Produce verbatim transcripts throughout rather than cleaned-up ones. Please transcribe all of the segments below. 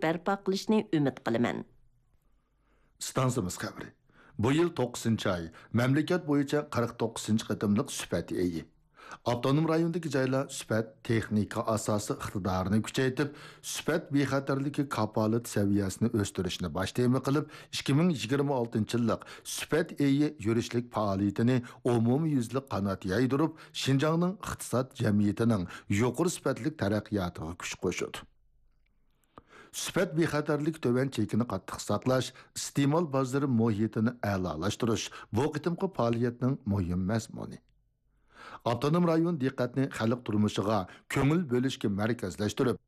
بەرپا قىلىشنى ئۈمىد قىلىمەن. ئىستانسىمىز خەۋىرى. بۇ يىل توققۇزىنچى ئاي، مەملىكەت بويىچە قىرىق توققۇزىنچى قېتىملىق سۈپەت ئېيى. ئاپتونوم رايوندىكى جايلار سۈپەت تېخنىكا ئاساسىي ئىقتىدارىنى كۈچەيتىپ، سۈپەت بىخەتەرلىكى كاپالىتى سەۋىيەسىنى ئۆستۈرۈشنى باش تېما قىلىپ، ئىككى مىڭ يىگىرمە ئالتىنچى يىللىق سۈپەت ئېيى يۈرۈشلۈك پائالىيىتىنى ئومۇميۈزلۈك قانات يايدۇرۇپ، شىنجاڭنىڭ ئىقتىساد جەمئىيىتىنىڭ يۇقىرى سۈپەتلىك تەرەققىياتىغا كۈچ قوشىدۇ. سۈپەت بىخەتەرلىكى تۆۋەن چېكىنى قاتتىق ساقلاش، ئىستېمال بازىرى مۇھىتىنى ئەلالاشتۇرۇش بۇ قېتىمقى پائالىيەتنىڭ مۇھىم مەزمۇنى. ئاپتونوم رايون دىققەتنى خەلق تۇرمۇشىغا كۆڭۈل بۆلۈشكە مەركەزلەشتۈرۈپ،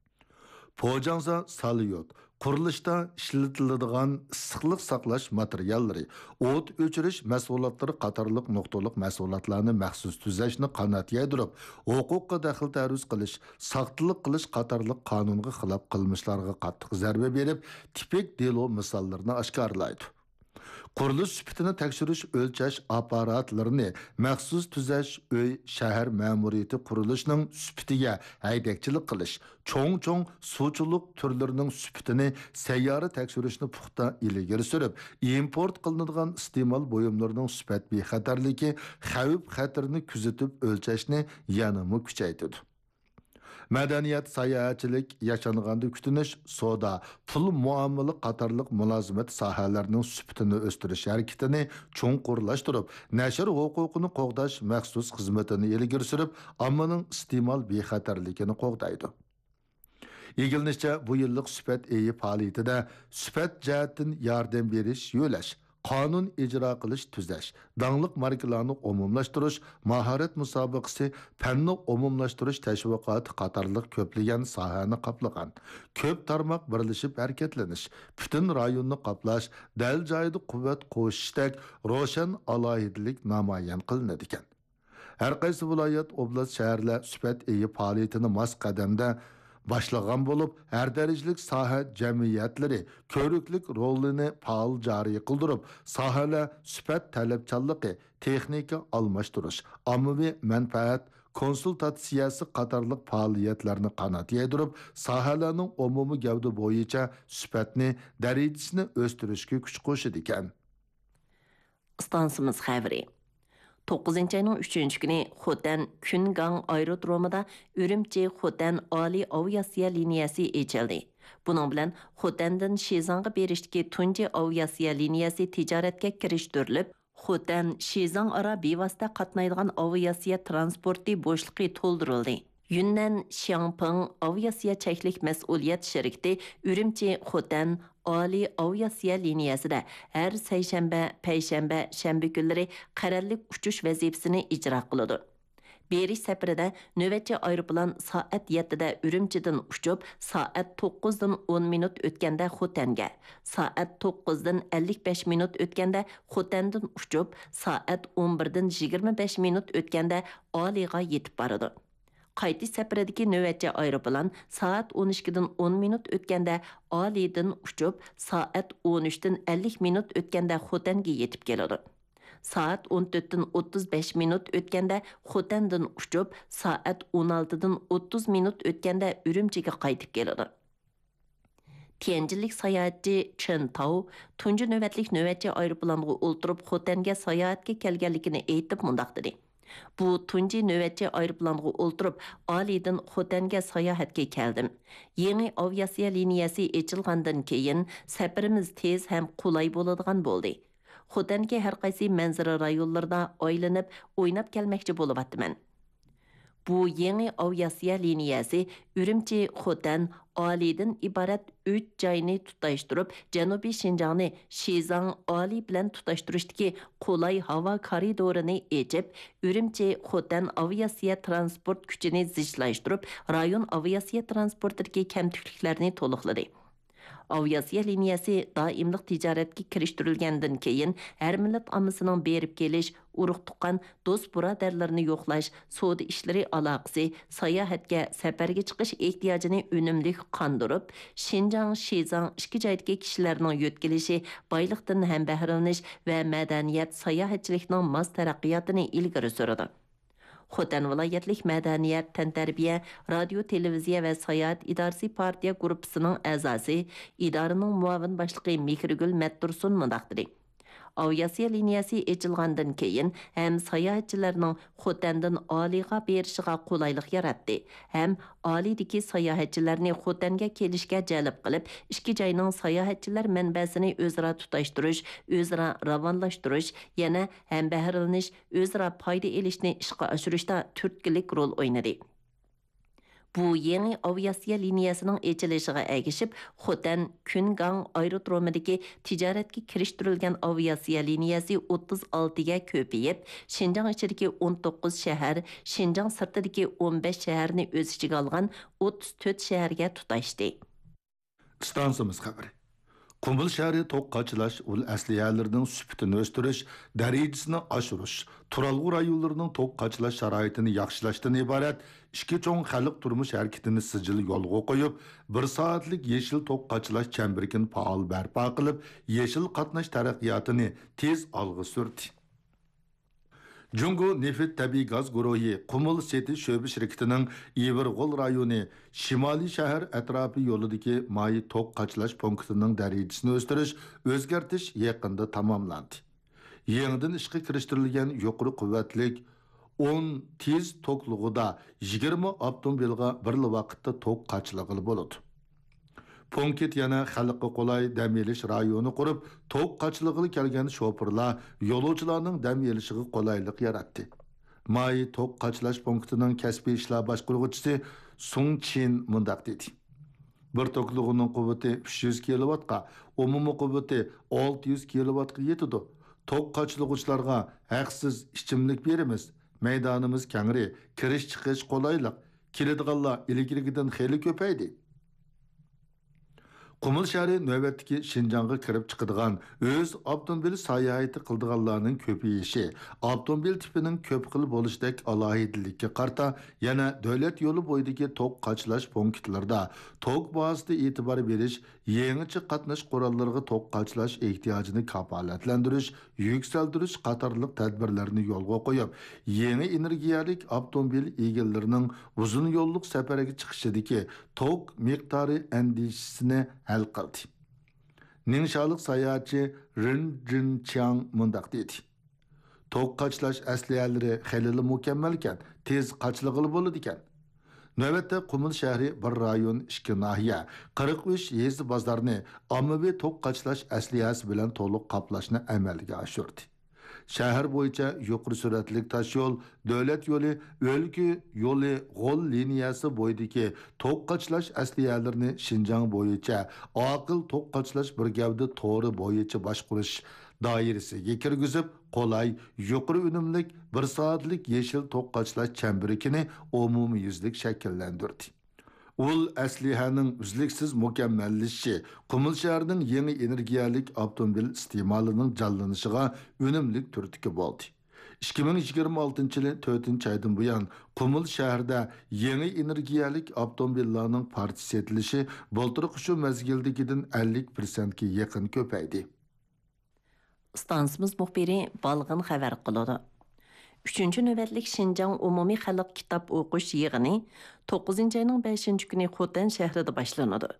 پوجاڭزا ساليۇت، قۇرۇلۇشتا ئىشلىتىلىدىغان ئىسسىقلىق ساقلاش ماتېرىياللىرى، ئوت ئۆچۈرۈش مەھسۇلاتلىرى قاتارلىق نۇقتىلىق مەھسۇلاتلارنى مەخسۇس تۈزەشنى قانات يايدۇرۇپ، ھوقۇققا دەخلى تەرۇز قىلىش، ساختىلىق قىلىش قاتارلىق قانۇنغا خىلاپ قىلمىشلارغا قاتتىق زەربە بېرىپ، تىپىك دېلو مىساللىرىنى ئاشكارىلايدۇ. قۇرۇلۇش سۈپىتىنى تەكشۈرۈش، ئۆلچەش ئاپپاراتلىرىنى مەخسۇس تۈزەش، ئۆي، شەھەر مەمۇرىيىتى قۇرۇلۇشىنىڭ سۈپىتىگە ھەيدەكچىلىك قىلىش، چوڭ-چوڭ سۇچىلىق تۈرلىرىنىڭ سۈپىتىنى سەييارە تەكشۈرۈشنى پۇختا ئىلگىرى سۈرۈپ، ئىمپورت قىلىنىدىغان ئىستېمال بۇيۇملىرىنىڭ سۈپەت بىخەتەرلىكى، خەۋپ-خەتىرىنى كۆزىتىپ ئۆلچەشنى يەنىمۇ كۈچەيتىدۇ. مەدەنىيەت، ساياھەتچىلىك، ياشانغاندا كۈتۈنۈش، سودا، پۇل مۇئامىلە قاتارلىق مۇلازىمەت ساھەلىرىنىڭ سۈپىتىنى ئۆستۈرۈش ھەرىكىتىنى چوڭقۇرلاشتۇرۇپ، نەشر ھوقۇقىنى قوغداش مەخسۇس خىزمىتىنى ئىلگىرى سۈرۈپ، ئاممىنىڭ ئىستېمال بىخەتەرلىكىنى قوغدايدۇ. ئىگىلىنىشىچە، بۇ يىللىق سۈپەت ئېيى پائالىيىتىدە سۈپەت جەھەتتىن ياردەم بېرىش، يۆلەش، قانۇن ئىجرا قىلىش، تۈزەش، داڭلىق ماركىلارنى ئومۇملاشتۇرۇش، ماھارەت مۇسابىقىسى، پەننى ئومۇملاشتۇرۇش تەشۋىقاتى قاتارلىق كۆپلىگەن ساھەنى قاپلىغان كۆپ تارماق بىرلىشىپ ھەرىكەتلىنىش، پۈتۈن رايوننى قاپلاش، دەل جايىدا قۇۋۋەت قوشۇشتەك روشەن ئالاھىدىلىك نامايان قىلىنىدىكەن. ھەر قايسى ۋىلايەت، ئوبلاست، شەھەرلەر سۈپەت ئېيى پائالىيىتىنى ماس قەدەمدە باشلىغان بولۇپ، ھەر دەرىجىلىك ساھە جەمئىيەتلىرى كۆۋرۈكلۈك رولىنى پائال جارى قىلدۇرۇپ، ساھەلەر سۈپەت تەلەپچانلىقى، تېخنىكا ئالماشتۇرۇش، ئاممىۋى مەنپەئەت كونسۇلتاتسىيەسى قاتارلىق پائالىيەتلەرنى قانات يايدۇرۇپ، ساھەلەرنىڭ ئومۇمىي گەۋدە بويىچە سۈپەتنى، دەرىجىسىنى ئۆستۈرۈشكە كۈچ قوشىدىكەن. ئىستانسىمىز خەۋىرى. توققۇزىنچى ئاينىڭ ئۈچىنچى كۈنى خوتەن كۈنگاڭ ئايرودرومىدا ئۈرۈمچى خوتەن ئالىي ئاۋىئاتسىيە لىنىيەسى ئېچىلدى. بۇنىڭ بىلەن خوتەندىن شىزاڭغا بېرىشتىكى تۇنجى ئاۋىئاتسىيە لىنىيەسى تىجارەتكە كىرىشتۈرۈلۈپ، خوتەن شىزاڭ ئارا بىۋاسىتە قاتنايدىغان ئاۋىئاتسىيە ترانسپورتى بوشلۇقى تولدۇرۇلدى. يۈننەن شياڭپىڭ ئاۋىئاتسىيە چەكلىك مەسئۇلىيەت شىركىتى ئۈرۈمچى خوتەن ئالىي ئاۋىئاتسىيە لىنىيەسىدە ھەر سەيشەنبە، پەيشەنبە، شەنبە كۈنلىرى قەرەللىك ئۇچۇش ۋەزىپىسىنى ئىجرا قىلىدۇ. بېرىش سەپىرىدە نۆۋەتچى ئايروپىلان سائەت يەتتىدە ئۈرۈمچىدىن ئۇچۇپ، سائەت توققۇزدىن ئون مىنۇت ئۆتكەندە خوتەنگە، سائەت توققۇزدىن ئەللىك بەش مىنۇت ئۆتكەندە خوتەندىن ئۇچۇپ، سائەت ئون بىردىن يىگىرمە بەش مىنۇت ئۆتكەندە ئالىيغا يېتىپ بارىدۇ. قايتىش سەپىرىدىكى نۆۋەتچى ئايروپىلان سائەت ئون ئىككىدىن ئون مىنۇت ئۆتكەندە ئالىيدىن ئۇچۇپ، سائەت ئون ئۈچتىن ئەللىك مىنۇت ئۆتكەندە خوتەنگە يېتىپ كېلىدۇ. سائەت ئون تۆتتىن ئوتتۇز بەش مىنۇت ئۆتكەندە خوتەندىن ئۇچۇپ، سائەت ئون ئالتىدىن ئوتتۇز مىنۇت ئۆتكەندە ئۈرۈمچىگە قايتىپ كېلىدۇ. تيەنجىنلىك ساياھەتچى چېن تاۋ تۇنجى نۆۋەتلىك نۆۋەتچى ئايروپىلانغا ئولتۇرۇپ خوتەنگە ساياھەتكە كەلگەنلىكىنى ئېيتىپ مۇنداق دېدى: بۇ تۇنجى نۆۋەتچى ئايروپىلانغا ئولتۇرۇپ، ئالىيدىن خوتەنگە ساياھەتكە كەلدىم. يېڭى ئاۋىئاتسىيە لىنىيەسى ئېچىلغاندىن كېيىن، سەپىرىمىز تېز ھەم قولاي بولىدىغان بولدى. خوتەندىكى ھەر قايسى مەنزىرە رايونلىرىدا ئايلىنىپ، ئويناپ كەلمەكچى بولۇۋاتىمەن. بۇ يېڭى ئاۋىئاتسىيە لىنىيەسى ئۈرۈمچى، خوتەن، ئالىيدىن ئىبارەت ئۈچ جاينى تۇتاشتۇرۇپ، جەنۇبىي شىنجاڭنى شىزاڭ، ئالىي بىلەن تۇتاشتۇرۇشتىكى قولاي ھاۋا كارىدورىنى ئېچىپ، ئۈرۈمچى، خوتەن ئاۋىئاتسىيە ترانسپورت كۈچىنى زىچلاشتۇرۇپ، رايون ئاۋىئاتسىيە ترانسپورتىدىكى كەمتۈكلۈكلەرنى تولۇقلىدى. ئاۋىئاتسىيە لىنىيەسى دائىملىق تىجارەتكە كىرىشتۈرۈلگەندىن كېيىن، ھەر مىللەت ئاممىسىنىڭ بېرىپ كېلىش، ئۇرۇق-تۇغقان، دوست-بۇرادەرلىرىنى يوقلاش، سودا ئىشلىرى ئالاقىسى، ساياھەتكە، سەپەرگە چىقىش ئېھتىياجىنى ئۈنۈملۈك قاندۇرۇپ، شىنجاڭ، شىزاڭ ئىككى جايدىكى كىشىلەرنىڭ يۆتكىلىشى، بايلىقتىن ھەم بەھرىلىنىش ۋە مەدەنىيەت، ساياھەتچىلىكنىڭ ماس تەرەققىياتىنى ئىلگىرى سۈرىدۇ. خوتەن ۋىلايەتلىك مەدەنىيەت، تەنتەربىيە، رادىيو، تېلېۋىزىيە ۋە ساياھەت ئىدارىسى پارتىيە گۇرۇپپىسىنىڭ ئەزاسى، ئىدارىنىڭ مۇئاۋىن باشلىقى مېھرىگۈل مەتتۇرسۇن مۇنداق دېدى: ئاۋىئاتسىيە لىنىيەسى ئېچىلغاندىن كېيىن، ھەم ساياھەتچىلەرنىڭ خوتەندىن ئالىغا بېرىشىغا قولايلىق ياراتتى، ھەم ئالىدىكى ساياھەتچىلەرنى خوتەنگە كېلىشكە جەلپ قىلىپ، ئىككى جاينىڭ ساياھەتچىلەر مەنبەسىنى ئۆزئارا تۇتاشتۇرۇش، ئۆزئارا راۋانلاشتۇرۇش، يەنە ھەمبەھرىلىنىش، ئۆزئارا پايدا ئېلىشنى ئىشقا ئاشۇرۇشتا تۈرتكىلىك رول ئوينىدى. بۇ يېڭى ئاۋىئاتسىيە لىنىيەسىنىڭ ئېچىلىشىغا ئەگىشىپ، خوتەن، كۈنگاڭ ئايرودرومىدىكى تىجارەتكە كىرىشتۈرۈلگەن ئاۋىئاتسىيە لىنىيەسى ئوتتۇز ئالتىگە كۆپىيىپ، شىنجاڭ ئىچىدىكى ئون توققۇز شەھەر، شىنجاڭ سىرتىدىكى ئون بەش شەھەرنى ئۆز ئىچىگە ئالغان ئوتتۇز تۆت شەھەرگە تۇتاشتى. ئىستانسىمىز خەۋىرى. قۇمۇل شەھىرى توك قاچىلاش ئۇل ئەسلىھەلىرىنىڭ سۈپىتىنى ئۆستۈرۈش، دەرىجىسىنى ئاشۇرۇش، تۇرالغۇ رايونلىرىنىڭ توك قاچىلاش شارائىتىنى ياخشىلاشتىن ئىبارەت ئىككى چوڭ خەلق تۇرمۇش ھەرىكىتىنى سىجىل يولغا قويۇپ، بىر سائەتلىك يېشىل توك قاچىلاش چەمبىرىكىنى پائال بەرپا قىلىپ، يېشىل قاتناش تەرەققىياتىنى تېز ئالغا سۈردى. جۇڭگو نېفىت تەبىئىي گاز گۇرۇھى قۇمۇل سېتى شۆبە شىركىتىنىڭ ئىۋىرغول رايونى شىمالىي شەھەر ئەتراپى يولىدىكى ماي توك قاچىلاش پونكىتىنىڭ دەرىجىسىنى ئۆستۈرۈش، ئۆزگەرتىش يېقىندا تاماملاندى. يېڭىدىن ئىشقا كىرىشتۈرۈلگەن يۇقىرى قۇۋۋەتلىك ئون تېز توكلىغۇدا يىگىرمە ئاپتوموبىلغا بىرلا ۋاقىتتا توك قاچىلىغىلى بولىدۇ. پونكىت يەنە خەلققە قولاي دەم ئېلىش رايونى قۇرۇپ، توك قاچىلىغىلى كەلگەن شوپۇرلار، يولۇچىلارنىڭ دەم ئېلىشىغا قولايلىق ياراتتى. ماي توك قاچىلاش پونكىتىنىڭ كەسپىي ئىشلار باشقۇرغۇچىسى سۇڭ چىن مۇنداق دېدى: بىر توكلىغۇنىڭ قۇۋۋىتى ئۈچ يۈز كىلوۋاتقا، ئومۇمىي قۇۋۋىتى ئالتە يۈز كىلوۋاتقا يېتىدۇ. توك قاچىلىغۇچىلارغا ھەقسىز ئىچىملىك بېرىمىز. مەيدانىمىز كەڭرى، كىرىش چىقىش قولايلىق. كېلىدىغانلار ئىلگىرىكىدىن خېلى كۆپەيدى. قۇمۇل شەھىرى نۆۋەتتىكى شىنجاڭغا كىرىپ چىقىدىغان ئۆز ئاپتوموبىل ساياھىتى قىلىدىغانلارنىڭ كۆپىيىشى، ئاپتوموبىل تىپىنىڭ كۆپ خىل بولۇشىدەك ئالاھىدىلىككە قارىتا، يەنە دۆلەت يولى بويىدىكى توك قاچىلاش پونكىتلىرىدا توك بازىسىدا ئېتىبار بېرىش، يېڭىچە قاتناش قوراللىرىغا توك قاچىلاش ئېھتىياجىنى كاپالەتلەندۈرۈش، يۈكسەلدۈرۈش قاتارلىق تەدبىرلەرنى يولغا قويۇپ، يېڭى ئېنېرگىيەلىك ئاپتوموبىل ئىگىلىرىنىڭ ئۇزۇن يوللۇق سەپەرگە چىقىشىدىكى توك مىقدارى ئەندىشىسىنى ھەل قىلدى. نىڭشالىق ساياھەتچى رىن جىنچياڭ مۇنداق دېدى: توك قاچىلاش ئەسلىھەلىرى خېلىلا مۇكەممەلكەن، تېز قاچىلىغىلى بولىدىكەن. نۆۋەتتە قۇمۇل شەھىرى بىر رايون، ئىككى ناھىيە، قىرىق ئۈچ يېزا بازارنى ئاممىۋى توك قاچىلاش ئەسلىھەسى بىلەن تولۇق قاپلاشنى ئەمەلگە ئاشۇردى. شەھەر بويىچە يۇقىرى سۈرئەتلىك تاشيول، دۆلەت يولى، ئۆلكە يولى، غول لىنىيەسى بويىدىكى توك قاچىلاش ئەسلىھەلىرىنى شىنجاڭ بويىچە ئاقىل توك قاچىلاش بىر گەۋدە تورى بويىچە باشقۇرۇش دائىرىسىگە كىرگۈزۈپ، قولاي، يۇقىرى ئۈنۈملۈك، بىر سائەتلىك يېشىل توك قاچىلاش چەمبىرىكىنى ئومۇميۈزلۈك شەكىللەندۈردى. ئۇل ئەسلىھەنىڭ ئۈزلۈكسىز مۇكەممەللىشىشى قۇمۇل شەھىرىنىڭ يېڭى ئېنېرگىيەلىك ئاپتوموبىل ئىستېمالىنىڭ جانلىنىشىغا ئۈنۈملۈك تۈرتكە بولدى. ئىككى مىڭ يىگىرمە ئالتىنچى يىلى تۆتىنچى ئايدىن بۇيان، قۇمۇل شەھىرىدە يېڭى ئېنېرگىيەلىك ئاپتوموبىللارنىڭ پارچە سېتىلىشى بۇلتۇرقى شۇ مەزگىلدىكىدىن ئەللىك پىرسەنتكە يېقىن كۆپەيدى. ئىستانسىمىز مۇخبىرى بالغىن خەۋەر قىلىدۇ. ئۈچىنچى نۆۋەتلىك شىنجاڭ ئومۇمىي خەلق كىتاب ئوقۇش يىغىنى توققۇزىنچى ئاينىڭ بەشىنچى كۈنى خوتەن شەھىرىدە باشلىنىدۇ.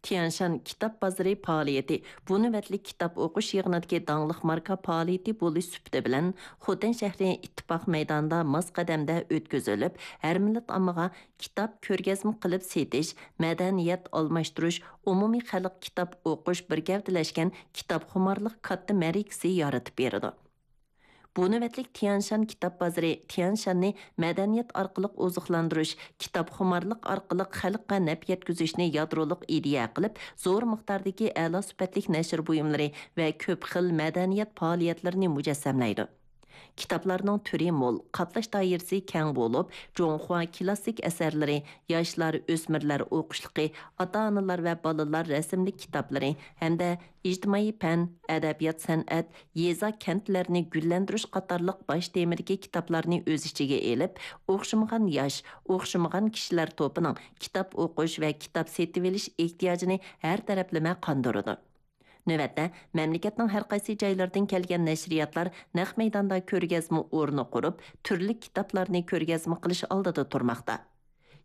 تيەنشان كىتاب بازىرى پائالىيىتى بۇ نۆۋەتلىك كىتاب ئوقۇش يىغىنىدىكى داڭلىق ماركا پائالىيىتى بولۇش سۈپىتى بىلەن، خوتەن شەھىرى ئىتتىپاق مەيدانىدا ماس قەدەمدە ئۆتكۈزۈلۈپ، ھەر مىللەت ئاممىغا كىتاب كۆرگەزمە قىلىپ سېتىش، مەدەنىيەت ئالماشتۇرۇش، ئومۇمىي خەلق كىتاب ئوقۇش بىر گەۋدىلەشكەن كىتابخۇمارلىق كاتتا مەرىكىسى يارىتىپ بېرىدۇ. بۇ نۆۋەتلىك تيەنشان كىتاب بازىرى تيەنشاننى مەدەنىيەت ئارقىلىق ئوزۇقلاندۇرۇش، كىتابخۇمارلىق ئارقىلىق خەلققە نەپ يەتكۈزۈشنى يادرولۇق ئىدىيە قىلىپ، زور مىقداردىكى ئەلا سۈپەتلىك نەشر بۇيۇملىرى ۋە كۆپ خىل مەدەنىيەت پائالىيەتلىرىنى مۇجەسسەملەيدۇ. كىتابلارنىڭ تۈرى مول، قاپلاش دائىرىسى كەڭ بولۇپ، جۇڭخۇا كىلاسسىك ئەسەرلىرى، ياشلار، ئۆسمۈرلەر ئوقۇشلۇقى، ئاتا-ئانىلار ۋە بالىلار رەسىملىك كىتابلىرى ھەمدە ئىجتىمائىي پەن، ئەدەبىيات-سەنئەت، يېزا-كەنتلەرنى گۈللەندۈرۈش قاتارلىق باش تېمىدىكى كىتابلارنى ئۆز ئىچىگە ئېلىپ، ئوخشىمىغان ياش، ئوخشىمىغان كىشىلەر توپىنىڭ كىتاب ئوقۇش ۋە كىتاب سېتىۋېلىش ئېھتىياجىنى ھەر تەرەپلىمە قاندۇرىدۇ. نۆۋەتتە، مەملىكەتنىڭ ھەر قايسى جايلىرىدىن كەلگەن نەشرىياتلار نەق مەيداندا كۆرگەزمە ئورنى قۇرۇپ، تۈرلۈك كىتابلارنى كۆرگەزمە قىلىش ئالدىدا تۇرماقتا.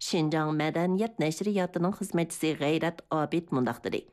شىنجاڭ مەدەنىيەت نەشرىياتىنىڭ خىزمەتچىسى غەيرەت ئابىد مۇنداق دېدى: